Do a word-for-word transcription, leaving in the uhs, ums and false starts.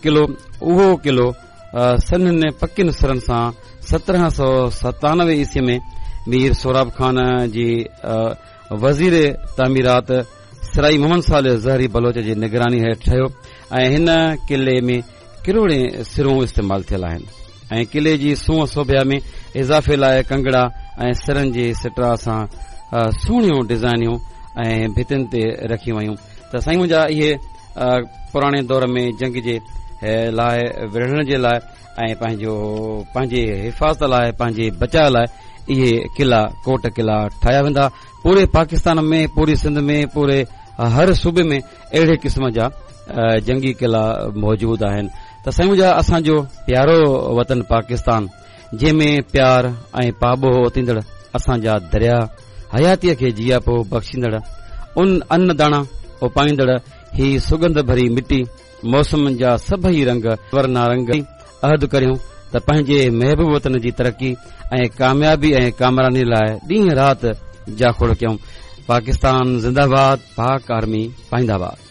قلعو، اهو قلعو سنهن پڪين سرن سان سترهن سؤ ستانوي عيسوي ۾ مير سهراب خان جي وزير تعميرات سرائي محمد صالح زهري بلوچ جي نگراني هيٺ ٺهيو ۽ هن قلعي ۾ ڪروڙين سرون استعمال ٿيل آهن ۽ قلعي جي سونهن سوڀيا ۾ اضافي لاء ڪنگڙا ۽ سرن جي سٽرا سان سهڻيون ڊزائنيون ۽ ڀتين تي رکيون ويون. ته سائين منهنجا، اهي پراڻي دور ۾ جنگ جي لاء وڙهڻ جي لاء ۽ پنهنجو پنهنجي حفاظت لاء، پنهنجي بچاء لاء اهي قلعا، ڪوٽ قلعا ٺاهيا ويندا. پوري پاڪستان ۾، پوري سنڌ ۾، پوري هر صوبي ۾ اهڙي قسم جا جنگي قلعا موجود آهن. ته سائين منهنجا، اسان جو پيارو وطن پاڪستان، جنهن ۾ پيار ۽ پاٻوهه اوتيندڙ اسان جا دريا، حياتيء کي جياپو بخشيندڙ ان ان داڻا اپائيندڙ هي سڳنڌ ڀري مٽي، موسمن جا سڀئي رنگ ورنارنگ، عهد ڪريون ته پنهنجي محبوب وطن جي ترقي ۽ ڪاميابي ۽ ڪامراني لاء ڏينهن رات جاکوڙ ڪيون. پاڪستان زنده باد، پاڪ آرمي پائنده باد.